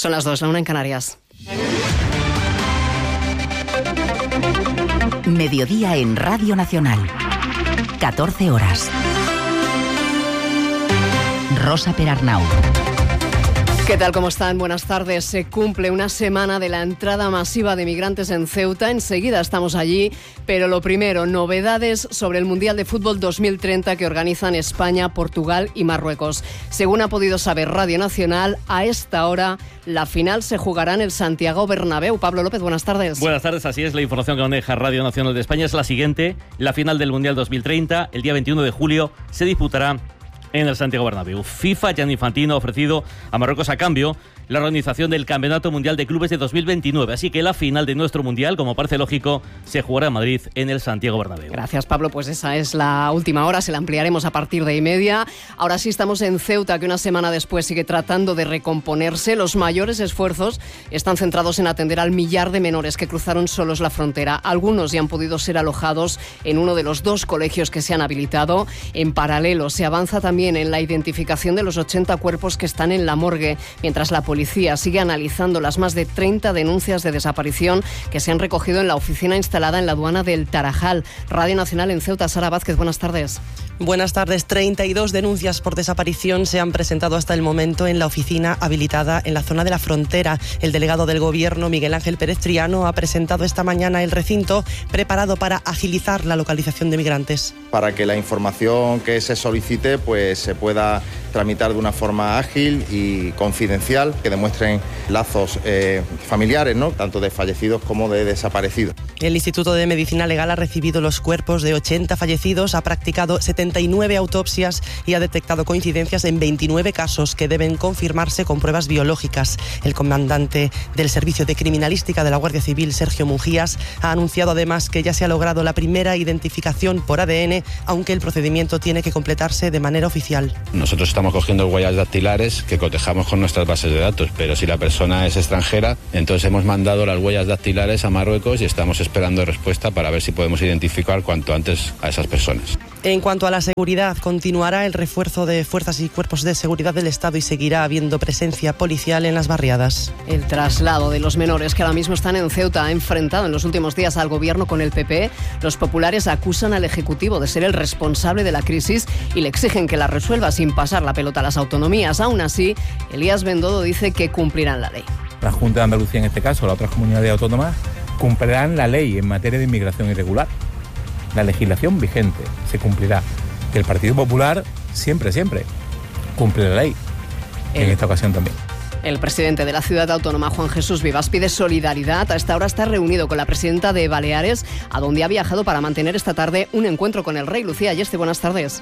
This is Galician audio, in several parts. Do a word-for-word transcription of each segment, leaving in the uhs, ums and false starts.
Son las dos, la una en Canarias. Mediodía en Radio Nacional. catorce horas. Rosa Perarnau. ¿Qué tal? ¿Cómo están? Buenas tardes. Se cumple una semana de la entrada masiva de migrantes en Ceuta. Enseguida estamos allí, pero lo primero, novedades sobre el Mundial de Fútbol dos mil treinta que organizan España, Portugal y Marruecos. Según ha podido saber Radio Nacional, a esta hora la final se jugará en el Santiago Bernabéu. Pablo López, buenas tardes. Buenas tardes, así es. La información que maneja Radio Nacional de España es la siguiente. La final del Mundial dos mil treinta, el día veintiuno de julio, se disputará en el Santiago Bernabéu. FIFA, Gianni Infantino, ha ofrecido a Marruecos a cambio la organización del Campeonato Mundial de Clubes de dos mil veintinueve. Así que la final de nuestro Mundial, como parece lógico, se jugará en Madrid, en el Santiago Bernabéu. Gracias, Pablo. Pues esa es la última hora, se la ampliaremos a partir de y media. Ahora sí estamos en Ceuta, que una semana después sigue tratando de recomponerse. Los mayores esfuerzos están centrados en atender al millar de menores que cruzaron solos la frontera. Algunos ya han podido ser alojados en uno de los dos colegios que se han habilitado. En paralelo, se avanza también en la identificación de los ochenta cuerpos que están en la morgue, mientras la policía sigue analizando las más de treinta denuncias de desaparición que se han recogido en la oficina instalada en la aduana del Tarajal. Radio Nacional en Ceuta, Sara Vázquez, buenas tardes. Buenas tardes. treinta y dos denuncias por desaparición se han presentado hasta el momento en la oficina habilitada en la zona de la frontera. El delegado del Gobierno, Miguel Ángel Pérez Triano, ha presentado esta mañana el recinto preparado para agilizar la localización de migrantes. Para que la información que se solicite pues se pueda tramitar de una forma ágil y confidencial, que demuestren lazos eh, familiares, ¿no?, tanto de fallecidos como de desaparecidos. El Instituto de Medicina Legal ha recibido los cuerpos de ochenta fallecidos, ha practicado setenta y nueve autopsias y ha detectado coincidencias en veintinueve casos que deben confirmarse con pruebas biológicas. El comandante del Servicio de Criminalística de la Guardia Civil, Sergio Mujías, ha anunciado además que ya se ha logrado la primera identificación por A D N, aunque el procedimiento tiene que completarse de manera oficial. Nosotros estamos cogiendo huellas dactilares que cotejamos con nuestras bases de datos, pero si la persona es extranjera, entonces hemos mandado las huellas dactilares a Marruecos y estamos esperando respuesta para ver si podemos identificar cuanto antes a esas personas. En cuanto a la seguridad, continuará el refuerzo de fuerzas y cuerpos de seguridad del Estado y seguirá habiendo presencia policial en las barriadas. El traslado de los menores que ahora mismo están en Ceuta ha enfrentado en los últimos días al Gobierno con el P P. Los populares acusan al Ejecutivo de ser el responsable de la crisis y le exigen que la resuelva sin pasar la pelota a las autonomías. Aún así, Elías Bendodo dice que cumplirán la ley. La Junta de Andalucía, en este caso, las otras comunidades autónomas, cumplirán la ley en materia de inmigración irregular. La legislación vigente se cumplirá. Que el Partido Popular siempre, siempre cumple la ley. El, en esta ocasión también. El presidente de la ciudad autónoma, Juan Jesús Vivas, pide solidaridad. A esta hora está reunido con la presidenta de Baleares, a donde ha viajado para mantener esta tarde un encuentro con el rey. Lucía Ayeste, buenas tardes.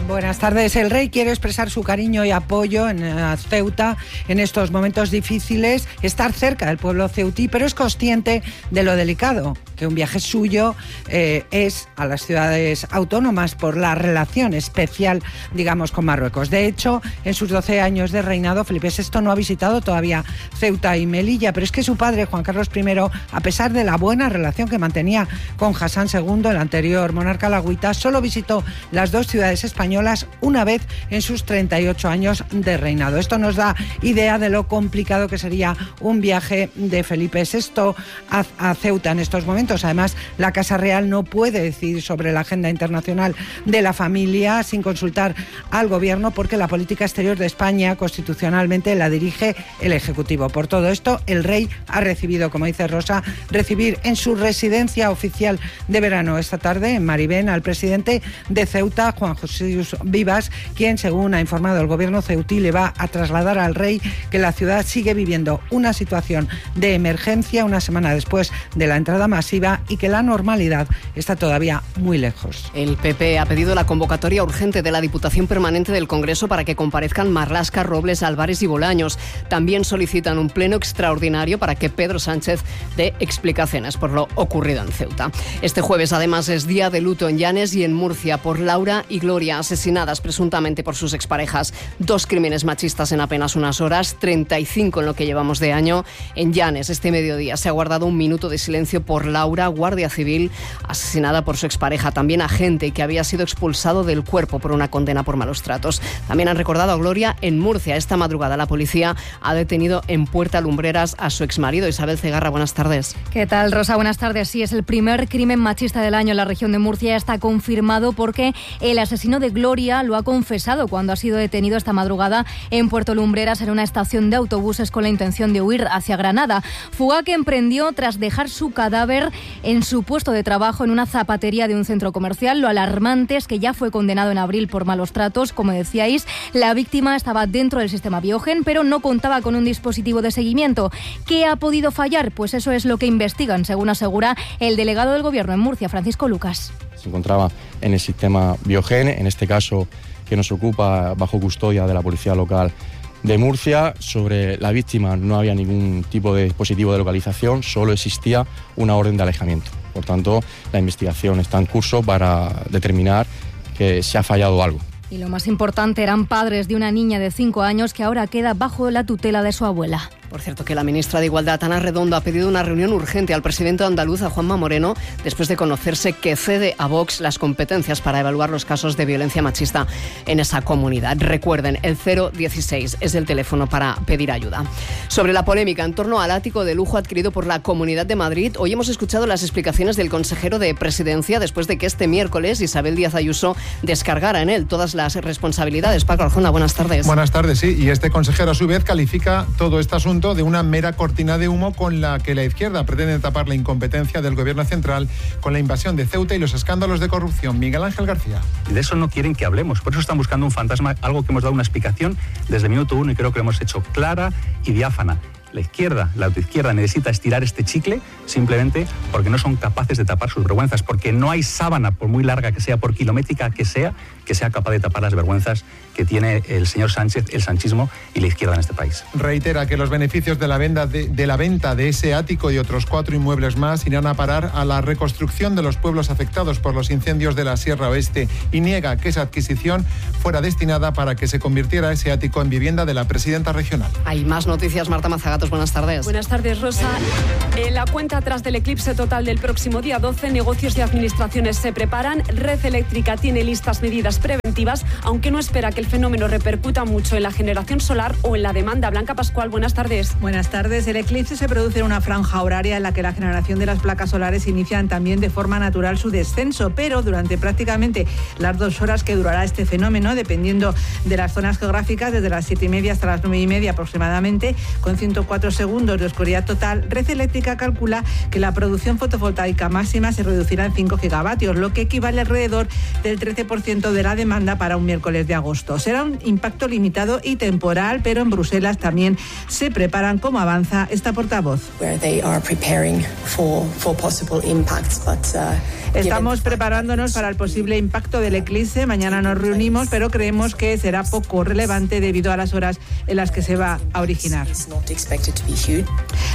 Buenas tardes. El rey quiere expresar su cariño y apoyo en Ceuta en estos momentos difíciles, estar cerca del pueblo ceutí, pero es consciente de lo delicado que un viaje suyo eh, es a las ciudades autónomas por la relación especial, digamos, con Marruecos. De hecho, en sus doce años de reinado, Felipe sexto no ha visitado todavía Ceuta y Melilla, pero es que su padre, Juan Carlos primero, a pesar de la buena relación que mantenía con Hassan segundo, el anterior monarca alauita, solo visitó las dos ciudades españolas una vez en sus treinta y ocho años de reinado. Esto nos da idea de lo complicado que sería un viaje de Felipe sexto a, a Ceuta en estos momentos. Además, la Casa Real no puede decidir sobre la agenda internacional de la familia sin consultar al Gobierno, porque la política exterior de España constitucionalmente la dirige el Ejecutivo. Por todo esto, el rey ha recibido, como dice Rosa, recibir en su residencia oficial de verano esta tarde en Maribén al presidente de Ceuta, Juan Jesús Vivas, quien, según ha informado el Gobierno ceutí, le va a trasladar al rey que la ciudad sigue viviendo una situación de emergencia una semana después de la entrada masiva y que la normalidad está todavía muy lejos. El P P ha pedido la convocatoria urgente de la Diputación Permanente del Congreso para que comparezcan Marlaska, Robles, Álvarez y Bolaños. También solicitan un pleno extraordinario para que Pedro Sánchez dé explicaciones por lo ocurrido en Ceuta. Este jueves, además, es día de luto en Llanes y en Murcia por Laura y Gloria, asesinadas presuntamente por sus exparejas. Dos crímenes machistas en apenas unas horas, treinta y cinco en lo que llevamos de año. En Llanes, este mediodía, se ha guardado un minuto de silencio por Laura Laura, guardia civil, asesinada por su expareja, también agente que había sido expulsado del cuerpo por una condena por malos tratos. También han recordado a Gloria en Murcia. Esta madrugada la policía ha detenido en Puerta Lumbreras a su exmarido. Isabel Cegarra, buenas tardes. ¿Qué tal, Rosa? Buenas tardes. Sí, es el primer crimen machista del año en la región de Murcia. Está confirmado porque el asesino de Gloria lo ha confesado cuando ha sido detenido esta madrugada en Puerto Lumbreras, en una estación de autobuses, con la intención de huir hacia Granada. Fuga que emprendió tras dejar su cadáver en su puesto de trabajo en una zapatería de un centro comercial. Lo alarmante es que ya fue condenado en abril por malos tratos. Como decíais, la víctima estaba dentro del sistema Biogen, pero no contaba con un dispositivo de seguimiento. ¿Qué ha podido fallar? Pues eso es lo que investigan, según asegura el delegado del Gobierno en Murcia, Francisco Lucas. Se encontraba en el sistema Biogen, en este caso que nos ocupa bajo custodia de la Policía Local de Murcia. Sobre la víctima no había ningún tipo de dispositivo de localización, solo existía una orden de alejamiento. Por tanto, la investigación está en curso para determinar que se ha fallado algo. Y lo más importante, eran padres de una niña de cinco años que ahora queda bajo la tutela de su abuela. Por cierto, que la ministra de Igualdad, Ana Redondo, ha pedido una reunión urgente al presidente andaluz, a Juanma Moreno, después de conocerse que cede a Vox las competencias para evaluar los casos de violencia machista en esa comunidad. Recuerden, el cero dieciséis es el teléfono para pedir ayuda. Sobre la polémica en torno al ático de lujo adquirido por la Comunidad de Madrid, hoy hemos escuchado las explicaciones del consejero de Presidencia después de que este miércoles Isabel Díaz Ayuso descargara en él todas las responsabilidades. Paco Arjona, buenas tardes. Buenas tardes, sí. Y este consejero a su vez califica todo este asunto de una mera cortina de humo con la que la izquierda pretende tapar la incompetencia del gobierno central con la invasión de Ceuta y los escándalos de corrupción. Miguel Ángel García. Y de eso no quieren que hablemos, por eso están buscando un fantasma, algo que hemos dado una explicación desde el minuto uno y creo que lo hemos hecho clara y diáfana. La izquierda, la autoizquierda, necesita estirar este chicle simplemente porque no son capaces de tapar sus vergüenzas, porque no hay sábana, por muy larga que sea, por kilométrica que sea, que sea capaz de tapar las vergüenzas que tiene el señor Sánchez, el sanchismo y la izquierda en este país. Reitera que los beneficios de la venta de, de la venta de ese ático y otros cuatro inmuebles más irán a parar a la reconstrucción de los pueblos afectados por los incendios de la Sierra Oeste y niega que esa adquisición fuera destinada para que se convirtiera ese ático en vivienda de la presidenta regional. Hay más noticias, Marta Mazagatos, buenas tardes. Buenas tardes, Rosa. En la cuenta atrás del eclipse total del próximo día doce, negocios y administraciones se preparan. Red Eléctrica tiene listas medidas preventivas, aunque no espera que el fenómeno repercuta mucho en la generación solar o en la demanda. Blanca Pascual, buenas tardes. Buenas tardes. El eclipse se produce en una franja horaria en la que la generación de las placas solares inician también de forma natural su descenso, pero durante prácticamente las dos horas que durará este fenómeno, dependiendo de las zonas geográficas, desde las siete y media hasta las nueve y media aproximadamente, con ciento cuatro segundos de oscuridad total, Red Eléctrica calcula que la producción fotovoltaica máxima se reducirá en cinco gigavatios, lo que equivale alrededor del trece por ciento de la demanda para un miércoles de agosto. Será un impacto limitado y temporal, pero en Bruselas también se preparan cómo avanza esta portavoz. Estamos preparándonos para el posible impacto del eclipse. Mañana nos reunimos, pero creemos que será poco relevante debido a las horas en las que se va a originar.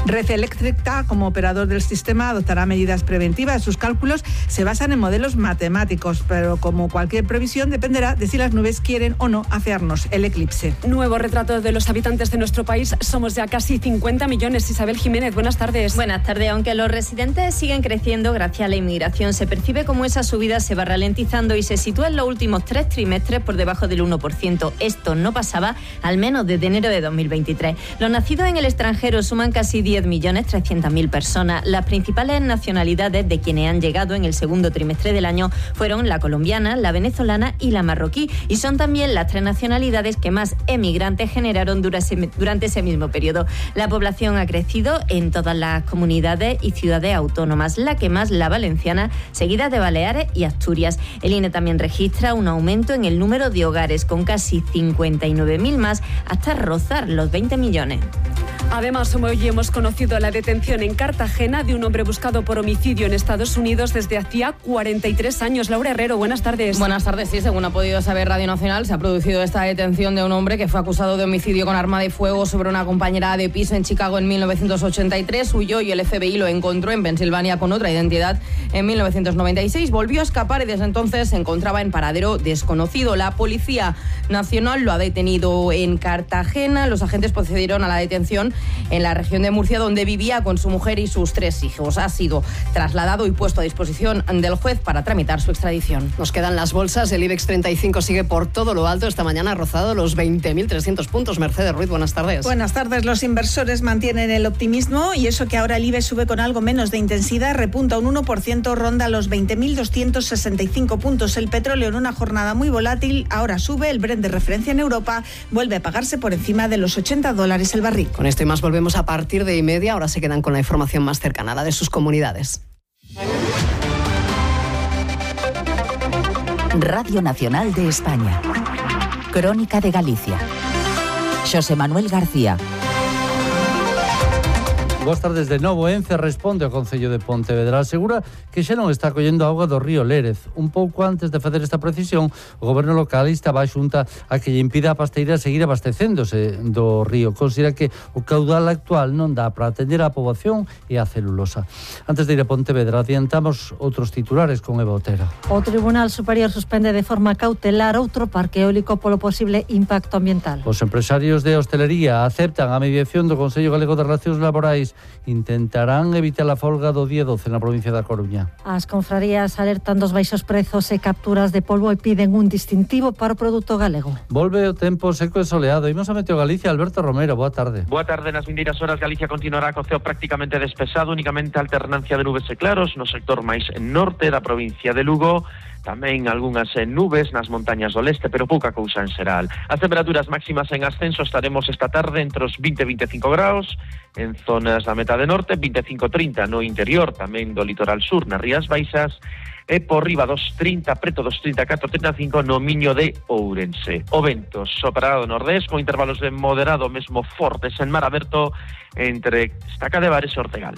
Red Eléctrica, como operador del sistema, adoptará medidas preventivas. Sus cálculos se basan en modelos matemáticos, pero como cualquier previsión dependerá de si las nubes quieren o no afearnos el eclipse. Nuevo retrato de los habitantes de nuestro país. Somos ya casi cincuenta millones. Isabel Jiménez, buenas tardes. Buenas tardes. Aunque los residentes siguen creciendo gracias a la inmigración, se percibe como esa subida se va ralentizando y se sitúa en los últimos tres trimestres por debajo del uno por ciento. Esto no pasaba al menos desde enero de dos mil veintitrés. Los nacidos en el extranjero suman casi diez millones trescientas mil personas. Las principales nacionalidades de quienes han llegado en el segundo trimestre del año fueron la colombiana, la venezolana y la marroquí, y son también las tres nacionalidades que más emigrantes generaron durante ese mismo periodo. La población ha crecido en todas las comunidades y ciudades autónomas, la que más la valenciana, seguida de Baleares y Asturias. El I N E también registra un aumento en el número de hogares, con casi cincuenta y nueve mil más, hasta rozar los veinte millones. Además, hoy hemos conocido la detención en Cartagena de un hombre buscado por homicidio en Estados Unidos desde hacía cuarenta y tres años. Laura Herrero, buenas tardes. Buenas tardes, sí, según ha podido saber Radio Nacional, se ha producido esta detención de un hombre que fue acusado de homicidio con arma de fuego sobre una compañera de piso en Chicago en mil novecientos ochenta y tres. Huyó y el F B I lo encontró en Pensilvania con otra identidad en mil novecientos noventa y seis. Volvió a escapar y desde entonces se encontraba en paradero desconocido. La Policía Nacional lo ha detenido en Cartagena. Los agentes procedieron a la detención en la región de Murcia, donde vivía con su mujer y sus tres hijos. Ha sido trasladado y puesto a disposición del juez para tramitar su extradición. Nos quedan las bolsas. El IBEX treinta y cinco sigue por todo lo alto. Esta mañana ha rozado los veinte mil trescientos puntos. Mercedes Ruiz, buenas tardes. Buenas tardes. Los inversores mantienen el optimismo y eso que ahora el IBEX sube con algo menos de intensidad, repunta un uno por ciento, ronda los veinte mil doscientos sesenta y cinco puntos. El petróleo en una jornada muy volátil ahora sube. El Brent de referencia en Europa vuelve a pagarse por encima de los ochenta dólares el barril. Con esto y más volvemos a partir de y media. Ahora se quedan con la información más cercana, la de sus comunidades. Radio Nacional de España. Crónica de Galicia. Xosé Manuel García. Boas tardes de novo. Ence responde ao Concello de Pontevedra. Asegura que xa non está collendo auga do río Lérez. Un pouco antes de facer esta precisión, o goberno local estaba a xunta a que lle impida a pasteira seguir abastecéndose do río. Considera que o caudal actual non dá para atender a poboación e a celulosa. Antes de ir a Pontevedra, adiantamos outros titulares con Eva Otero. O Tribunal Superior suspende de forma cautelar outro parque eólico polo posible impacto ambiental. Os empresarios de hostelería aceptan a mediación do Consello Galego de Relacións Laborais. Intentarán evitar a folga do día doce na provincia da Coruña. As confrarías alertan dos baixos prezos e capturas de polvo e piden un distintivo para o produto galego. Volve o tempo seco e soleado. Imos a Meteo Galicia. Alberto Romero, boa tarde. Boa tarde. Nas vindeiras horas Galicia continuará co ceo prácticamente despexado, únicamente alternancia de nubes e claros no sector máis norte da provincia de Lugo. Tamén algunhas nubes nas montañas do leste, pero pouca cousa en xeral. As temperaturas máximas en ascenso estaremos esta tarde entre os vinte e vinte e cinco graus en zonas da metade norte, vinte e cinco a trinta no interior, tamén do litoral sur, nas Rías Baixas, e por riba dos trinta, preto dos trinta e catro a trinta e cinco no Miño de Ourense. O vento soprará do nordés con intervalos de moderado mesmo fortes en mar aberto entre Estaca de Bares e Ortegal.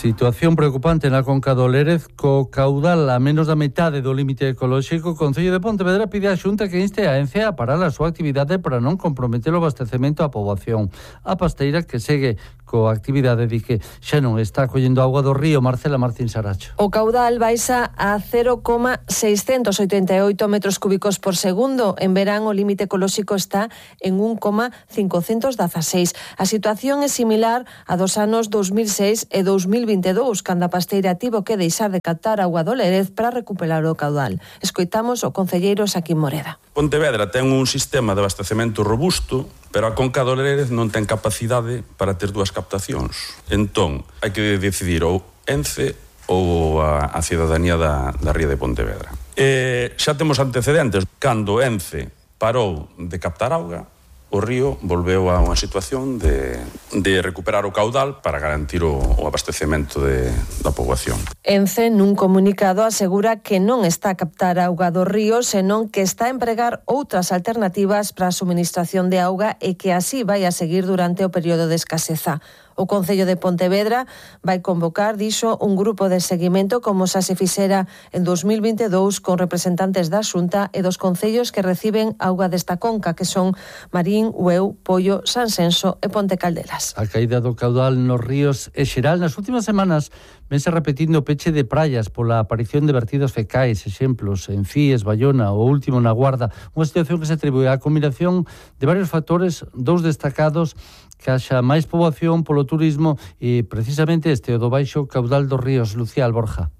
Situación preocupante na conca do Lérez, co caudal a menos da metade do límite ecolóxico. O Concello de Pontevedra pide á Xunta que inste a Ence a parar a súa actividade para non comprometer o abastecemento á poboación. A pasteira, que segue coa actividade, di que xa non está collendo auga do río. Marcela Martín Saracho. O caudal baixa a cero coma seiscentos oitenta e oito metros cúbicos por segundo. En verán o límite ecolóxico está en un coma cincocentos dezaseis. A situación é similar a dos anos dos mil seis e dos mil vinte e dous, cando a pasteira tivo que deixar de captar auga do Lérez para recuperar o caudal. Escoitamos o concelleiro Saquín Moreda. Pontevedra ten un sistema de abastecemento robusto, pero a conca do Lérez non ten capacidade para ter dúas captacións. Entón, hai que decidir ou Ence ou a, a cidadanía da, da ría de Pontevedra. E xa temos antecedentes. Cando Ence parou de captar auga, o río volveu a unha situación de, de recuperar o caudal para garantir o, o abastecemento de, da poboación. Ence, nun comunicado, asegura que non está a captar auga do río, senón que está a empregar outras alternativas para a suministración de auga e que así vai a seguir durante o período de escaseza. O Concello de Pontevedra vai convocar, dixo, un grupo de seguimento como xa se fixera en dos mil vinte e dous con representantes da Xunta e dos concellos que reciben auga desta conca, que son Marín, Ueu, Pollo, Sansenso e Ponte Caldelas. A caída do caudal nos ríos é xeral. Nas últimas semanas vense repetindo o peche de praias pola aparición de vertidos fecais, exemplos en Fíes, Bayona ou último na Guarda, unha situación que se atribúe á combinación de varios factores, dous destacados: que haxa máis poboación polo turismo e precisamente este o do baixo caudal dos ríos. Lucía Alborja.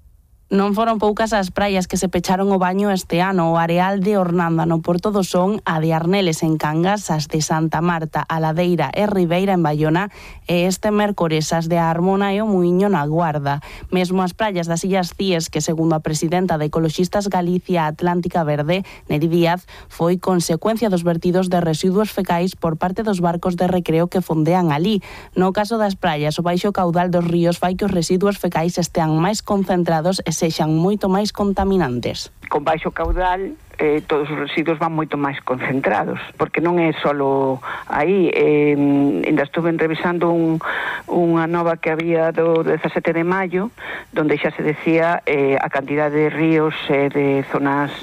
Non foron poucas as praias que se pecharon o baño este ano. O areal de Ornanda no Porto do Son, a de Arneles en Cangas, as de Santa Marta, a Ladeira e Ribeira en Bayona e este mércores as de Armona e o Muiño na Guarda. Mesmo as praias das Illas Cíes, que segundo a presidenta de Ecoloxistas Galicia Atlántica Verde, Neri Díaz, foi consecuencia dos vertidos de residuos fecais por parte dos barcos de recreo que fondean ali. No caso das praias, o baixo caudal dos ríos fai que os residuos fecais estean máis concentrados e sexan moito máis contaminantes. Con baixo caudal, eh, todos os residuos van moito máis concentrados, porque non é solo aí. Eh, ainda estuve revisando un, unha nova que había do dezasete de maio, donde xa se decía eh, a cantidade de ríos e eh, de zonas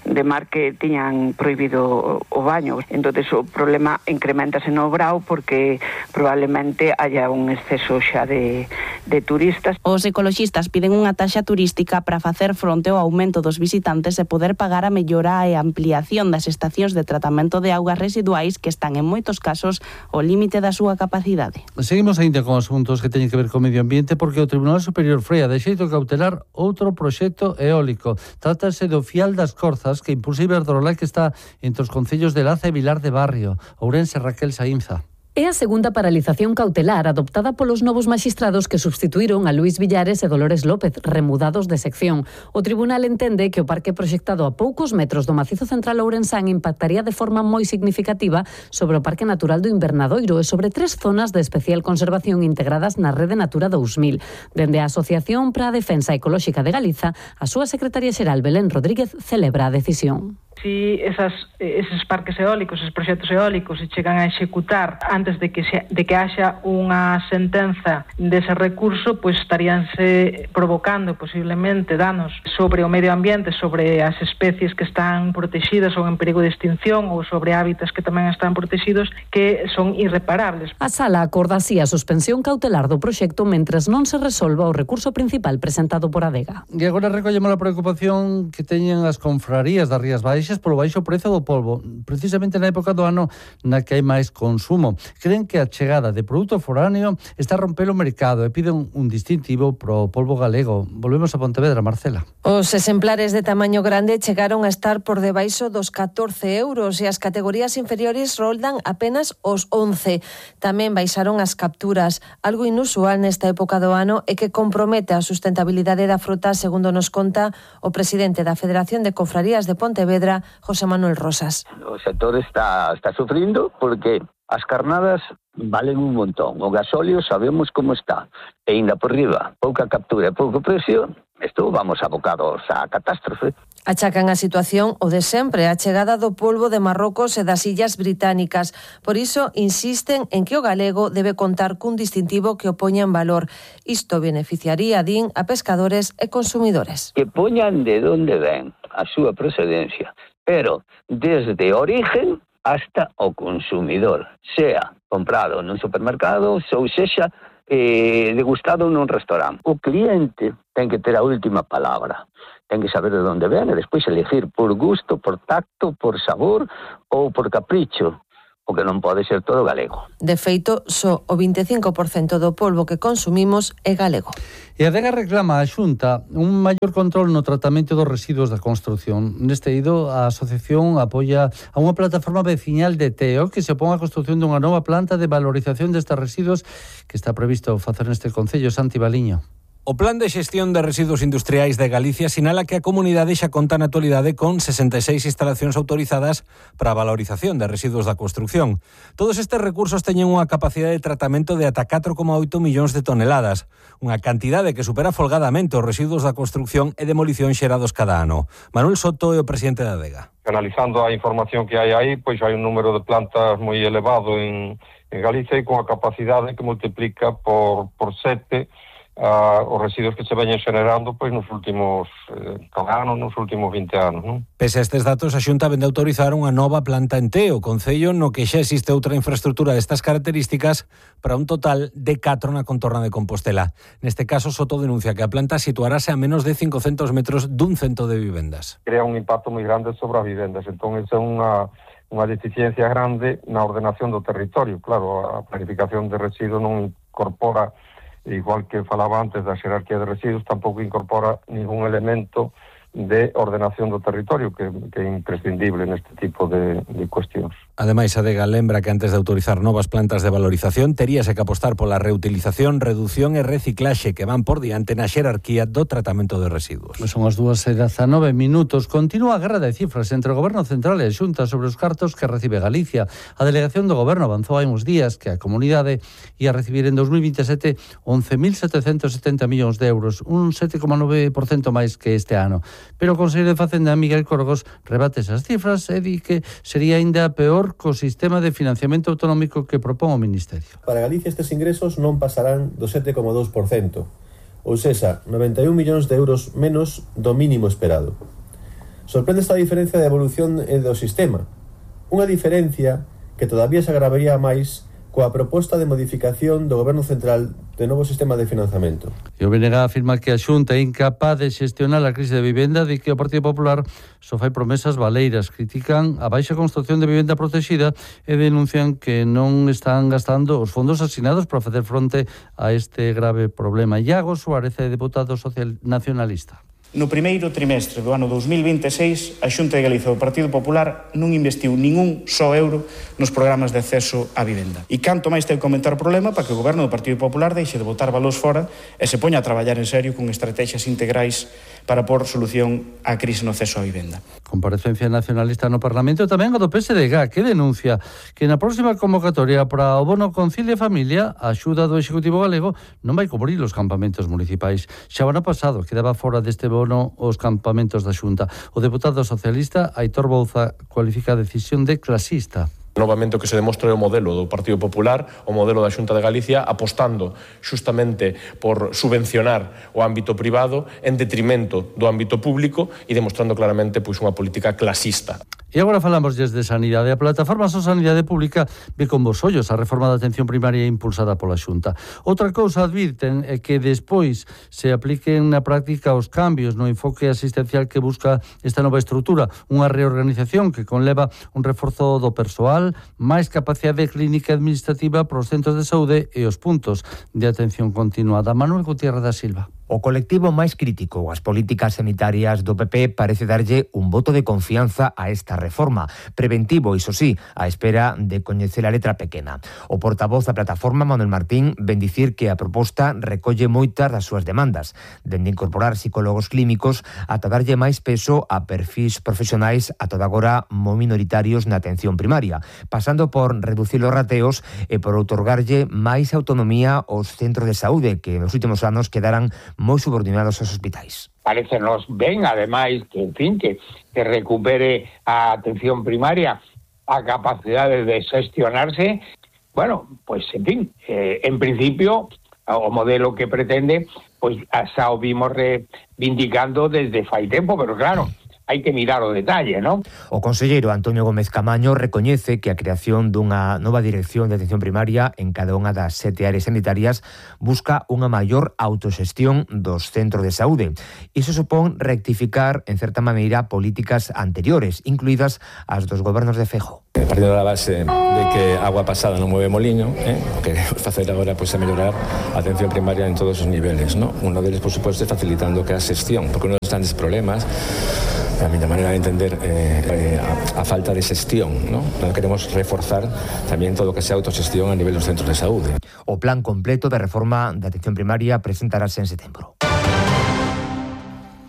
de mar que tiñan prohibido o baño. Entonces o problema incrementase no Brao porque probablemente haya un exceso xa de, de turistas. Os ecoloxistas piden unha taxa turística para facer fronte ao aumento dos visitantes e poder pagar a mellora e ampliación das estacións de tratamento de augas residuais que están en moitos casos ao límite da súa capacidade. Seguimos ainda con asuntos que teñen que ver co medio ambiente porque o Tribunal Superior freia de xeito cautelar outro proxecto eólico. Trátase do Fial das Corzas que impulsa Iberdrola que está entre os concellos de Laza e Vilar de Barrio. Ourense, Raquel Saínza. É a segunda paralización cautelar adoptada polos novos maxistrados que substituíron a Luís Villares e Dolores López, remudados de sección. O tribunal entende que o parque proxectado a poucos metros do macizo central ourensán impactaría de forma moi significativa sobre o Parque Natural do Invernadoiro e sobre tres zonas de especial conservación integradas na Rede Natura dous mil. Dende a Asociación para a Defensa Ecolóxica de Galiza, a súa secretaria xeral Belén Rodríguez celebra a decisión. Si esas, eses parques eólicos, eses proxectos eólicos se chegan a executar antes de que se, de que haxa unha sentenza dese recurso, pois estaríanse provocando posiblemente danos sobre o medio ambiente, sobre as especies que están protegidas ou en perigo de extinción ou sobre hábitats que tamén están protegidos que son irreparables. A sala acorda así a suspensión cautelar do proxecto mentres non se resolva o recurso principal presentado por Adega. E agora recollemos a preocupación que teñen as confrarías das Rías Baixas polo baixo prezo do polvo, precisamente na época do ano na que hai máis consumo. Creen que a chegada de produto foráneo está a romper o mercado e piden un distintivo pro polvo galego. Volvemos a Pontevedra, Marcela. Os exemplares de tamaño grande chegaron a estar por debaixo dos catorce euros e as categorías inferiores roldan apenas os once. Tamén baixaron as capturas, algo inusual nesta época do ano e que compromete a sustentabilidade da fruta, segundo nos conta o presidente da Federación de Confrarías de Pontevedra, José Manuel Rosas. O sector está, está sufrindo porque as carnadas valen un montón. O gasóleo sabemos como está. E ainda por riba, pouca captura e pouco precio, isto vamos abocados á catástrofe. Achacan a situación o de sempre, a chegada do polvo de Marrocos e das illas británicas. Por iso insisten en que o galego debe contar cun distintivo que o poña en valor. Isto beneficiaría, din, a pescadores e consumidores. Que poñan de onde ven a súa procedencia, pero desde origen hasta o consumidor, sea comprado nun supermercado ou sexa eh, degustado nun restaurante. O cliente ten que ter a última palabra, ten que saber de onde ven e despois elegir por gusto, por tacto, por sabor ou por capricho, o que non pode ser todo galego. De feito, só o vinte e cinco por cento do polvo que consumimos é galego. E a Adega reclama á Xunta un maior control no tratamento dos residuos da construción. Neste eido, a asociación apoia a unha plataforma veciñal de Teo que se opón á construción dunha nova planta de valorización destes residuos que está previsto facer neste concello. Santi Baliño. O Plan de Xestión de Residuos Industriais de Galicia sinala que a comunidade xa conta na actualidade con sesenta e seis instalacións autorizadas para a valorización de residuos da construción. Todos estes recursos teñen unha capacidade de tratamento de ata catro coma oito millóns de toneladas, unha cantidade que supera folgadamente os residuos da construción e demolición xerados cada ano. Manuel Soto é o presidente da Adega. Analizando a información que hai aí, pois hai un número de plantas moi elevado en, en Galicia e con a capacidade que multiplica por, por sete Uh, os residuos que se veñen generando pois nos últimos eh, anos, nos últimos vinte anos, non? Pese a estes datos, a Xunta vende a autorizar unha nova planta en Teo, concello no que xa existe outra infraestructura destas características para un total de catro na contorna de Compostela. Neste caso, Soto denuncia que a planta situarase a menos de cincocentos metros dun cento de vivendas. Crea un impacto moi grande sobre as vivendas, entón esa é unha unha deficiencia grande na ordenación do territorio. Claro, a planificación de residuos non incorpora, igual que falaba antes da xerarquía de residuos, tampouco incorpora ningún elemento de ordenación do territorio que, que é imprescindible neste tipo de, de cuestións. Ademais, a Adega lembra que antes de autorizar novas plantas de valorización teríase que apostar pola reutilización, reducción e reciclaxe que van por diante na xerarquía do tratamento de residuos. Son as dúas e dezanove minutos. Continúa a guerra de cifras entre o Goberno Central e a Xunta sobre os cartos que recibe Galicia. A delegación do Goberno avanzou hai uns días que a comunidade ia recibir en dos mil veintesete once mil setecentos setenta millóns de euros, un sete coma nove por cento máis que este ano. Pero o conselleiro de Facenda, Miguel Corgos, rebate esas cifras e di que sería aínda peor co sistema de financiamento autonómico que propón o Ministerio. Para Galicia estes ingresos non pasarán do sete coma dous por cento, ou sexa, noventa e un millóns de euros menos do mínimo esperado. Sorprende esta diferencia de evolución do sistema, unha diferencia que todavía se agravaría máis coa proposta de modificación do Goberno Central de novo sistema de financiamento. E o B N G afirma que a Xunta é incapaz de xestionar a crise de vivenda e que o Partido Popular só fai promesas baleiras. Critican a baixa construcción de vivenda protegida e denuncian que non están gastando os fondos asignados para facer fronte a este grave problema. Iago Suárez é deputado social nacionalista. No primeiro trimestre do ano dos mil vinte e seis, a Xunta de Galicia do Partido Popular non investiu ningún só euro nos programas de acceso á vivenda. E canto máis ten que comentar o problema para que o Goberno do Partido Popular deixe de botar valores fora e se poña a traballar en serio con estrategias integrais para pôr solución á crise no acceso á vivenda. Comparecencia nacionalista no Parlamento tamén a do P S D G, que denuncia que na próxima convocatoria para o bono Concilia e Familia, a axuda do Executivo galego non vai cubrir os campamentos municipais. Xa o ano pasado quedaba fora deste bono os campamentos da Xunta. O deputado socialista Aitor Bouza cualifica a decisión de clasista. Novamente o que se demostra é o modelo do Partido Popular, o modelo da Xunta de Galicia, apostando xustamente por subvencionar o ámbito privado en detrimento do ámbito público e demostrando claramente pois unha política clasista. E agora falamos de sanidade. A plataforma So Sanidade Pública ve con bos ollos a reforma da atención primaria impulsada pola Xunta. Outra cousa advirten é que despois se apliquen na práctica os cambios no enfoque asistencial que busca esta nova estrutura, unha reorganización que conleva un reforzo do persoal, máis capacidade clínica e administrativa para os centros de saúde e os puntos de atención continuada. Manuel Gutiérrez da Silva. O colectivo máis crítico ás políticas sanitarias do P P parece darlle un voto de confianza a esta reforma, preventivo, iso sí, á espera de coñecer a letra pequena. O portavoz da plataforma, Manuel Martín, ven dicir que a proposta recolle moitas das súas demandas, dende incorporar psicólogos clínicos ata darlle máis peso a perfis profesionais a toda agora moi minoritarios na atención primaria, pasando por reducir os rateos e por outorgarlle máis autonomía aos centros de saúde que nos últimos anos quedaran moi subordinados aos hospitais. Parecenos ben, ademais, que, en fin, que, que recupere a atención primaria a capacidade de xestionarse. Bueno, pois, en fin, eh, en principio, o modelo que pretende, pois, xa o vimos reivindicando desde fai tempo, pero claro, hai que mirar o detalle, non? O conselleiro Antonio Gómez Camaño recoñece que a creación dunha nova dirección de atención primaria en cada unha das sete áreas sanitarias busca unha maior autoxestión dos centros de saúde. Iso supón rectificar, en certa maneira, políticas anteriores, incluídas as dos gobernos de Feijóo. Partindo da base de que agua pasada non mueve moliño, eh? o que queremos facer agora pois, é mellorar a atención primaria en todos os niveles, ¿no? Uno deles, por suposto, é facilitando que a xestión, porque uno dos grandes problemas, a miña maneira de entender, eh, a, a falta de xestión, ¿no? Non queremos reforzar tamén todo o que sea autoxestión a nivel dos centros de saúde. O plan completo de reforma da atención primaria presentarase en setembro.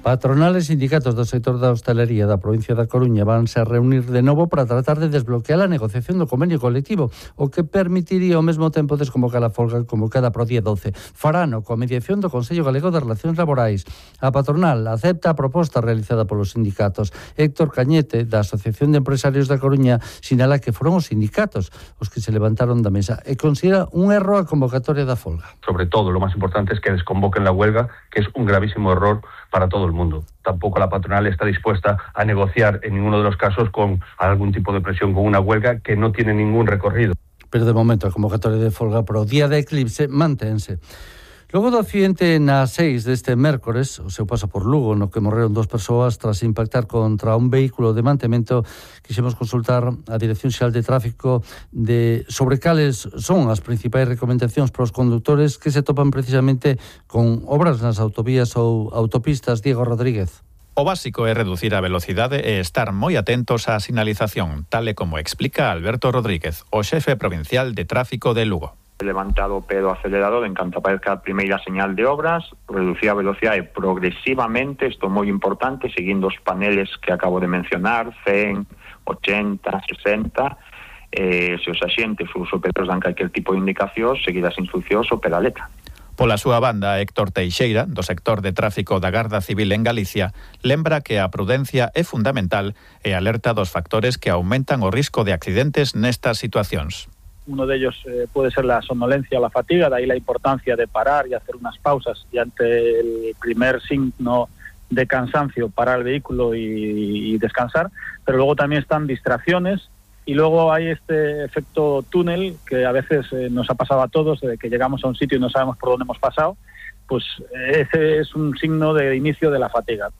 Patronales e sindicatos do sector da hostalería da provincia da Coruña vanse a reunir de novo para tratar de desbloquear a negociación do convenio colectivo, o que permitiría ao mesmo tempo desconvocar a folga convocada para o día doce. Farano, coa mediación do Consello Galego de Relacións Laborais. A patronal acepta a proposta realizada polos sindicatos. Héctor Cañete, da Asociación de Empresarios da Coruña, sinala que foron os sindicatos os que se levantaron da mesa e considera un erro a convocatoria da folga. Sobre todo, lo más importante es que desconvoquen la huelga, que es un gravísimo error para todo el mundo. Tampoco la patronal está dispuesta a negociar en ninguno de los casos con algún tipo de presión, con una huelga que no tiene ningún recorrido. Pero de momento a convocatoria de folga para o día de eclipse manténse. Logo do accidente na seis deste mércores, o seu paso por Lugo, no que morreron dos persoas tras impactar contra un vehículo de mantemento, quixemos consultar a Dirección Xeral de Tráfico de sobre cales son as principais recomendacións para os condutores que se topan precisamente con obras nas autovías ou autopistas. Diego Rodríguez. O básico é reducir a velocidade e estar moi atentos á sinalización, tal e como explica Alberto Rodríguez, o xefe provincial de tráfico de Lugo. Levantado o pé do acelerador en canto aparezca a primeira señal de obras, reducir a velocidade progresivamente, isto é moi importante, seguindo os paneles que acabo de mencionar, cen, ochenta, sesenta, eh, se os axentes ou os operadores dan calquer tipo de indicación, seguir as instruccións ou pela letra. Pola súa banda, Héctor Teixeira, do sector de tráfico da Garda Civil en Galicia, lembra que a prudencia é fundamental e alerta dos factores que aumentan o risco de accidentes nestas situacións. Uno de ellos eh, puede ser la somnolencia o la fatiga, de ahí la importancia de parar y hacer unas pausas y ante el primer signo de cansancio parar el vehículo y, y descansar, pero luego también están distracciones y luego hay este efecto túnel que a veces eh, nos ha pasado a todos, de que llegamos a un sitio y no sabemos por dónde hemos pasado, pues ese es un signo de inicio de la fatiga.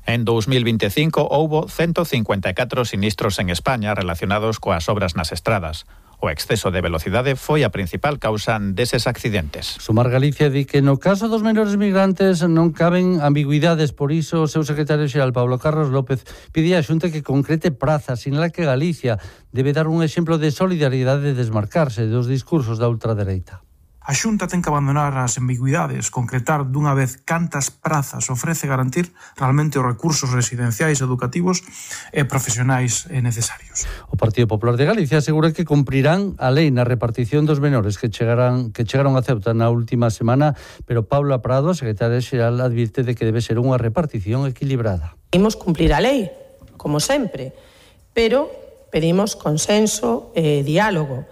En dos mil veinticinco houbo ciento cincuenta e catro sinistros en España relacionados coas obras nas estradas. O exceso de velocidade foi a principal causa deses accidentes. Sumar Galicia di que no caso dos menores migrantes non caben ambigüidades, por iso o seu secretario xeral Pablo Carlos López pide á Xunta que concrete prazas, sinala que Galicia debe dar un exemplo de solidariedade e desmarcarse dos discursos da ultradereita. A Xunta ten que abandonar as ambigüidades, concretar dunha vez cantas prazas ofrece garantir realmente os recursos residenciais, educativos e profesionais necesarios. O Partido Popular de Galicia asegura que cumprirán a lei na repartición dos menores que chegarán que chegaron a Ceuta na última semana, pero Paula Prado, a secretaria xeral, advirte de que debe ser unha repartición equilibrada. Pedimos cumplir a lei, como sempre, pero pedimos consenso e diálogo.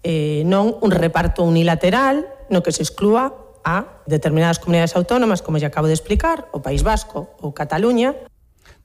Eh, non un reparto unilateral no que se exclúa a determinadas comunidades autónomas, como ya acabo de explicar, o País Vasco ou Cataluña.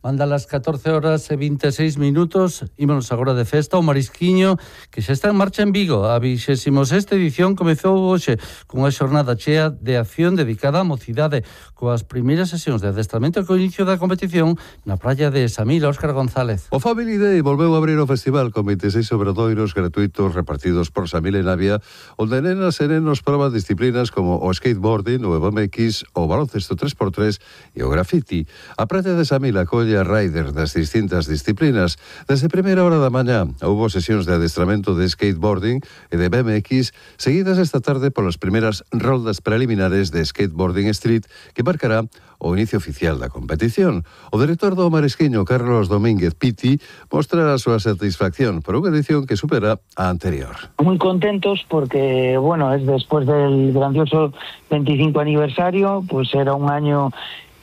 Manda las catorce horas e veintiséis minutos. Ímonos agora de festa o Marisquiño, que xa está en marcha en Vigo. A vixésima sexta edición comezou hoxe cunha xornada chea de acción dedicada á mocidade, coas primeiras sesións de adestramento e co inicio da competición na praia de Samil. Óscar González. O Family Day volveu a abrir o festival con veintiséis obradoiros gratuitos repartidos por Samil e Navia, onde nenas e nenos proban disciplinas como o skateboarding, o B M X, o baloncesto tres por tres e o graffiti. A praia de Samil acolle a riders das distintas disciplinas. Desde primeira hora da mañá houbo sesións de adestramento de skateboarding e de B M X, seguidas esta tarde polas primeiras roldas preliminares de skateboarding street que marcará o inicio oficial da competición. O director do Marisquiño, Carlos Domínguez Piti, mostra a súa satisfacción por unha edición que supera a anterior. Muy contentos porque, bueno, es después del grandioso veinticinco aniversario, pues era un año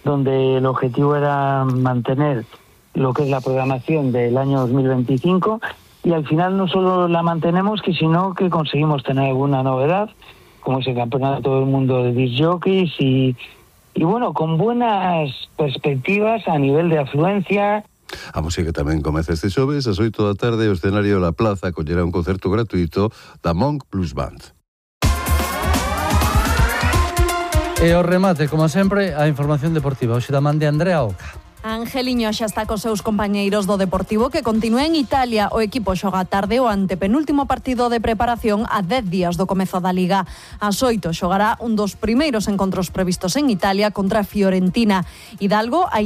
donde el objetivo era mantener lo que es la programación del año dos mil veinticinco y al final no solo la mantenemos, que sino que conseguimos tener alguna novedad, como ese campeonato del mundo de disc jockeys y, y bueno, con buenas perspectivas a nivel de afluencia. A música tamén comeza este xoves, ás oito da tarde, o escenario La Plaza acollerá un concerto gratuito da Monk Blues Band. E o remate, como sempre, a información deportiva. Hoxe da man de Andrea Oca. Angeliño xa está cos seus compañeiros do Deportivo, que continúa en Italia. O equipo xoga tarde o antepenúltimo partido de preparación a dez días do comezo da Liga. Ás oito xogará un dos primeiros encontros previstos en Italia contra a Fiorentina. Hidalgo, a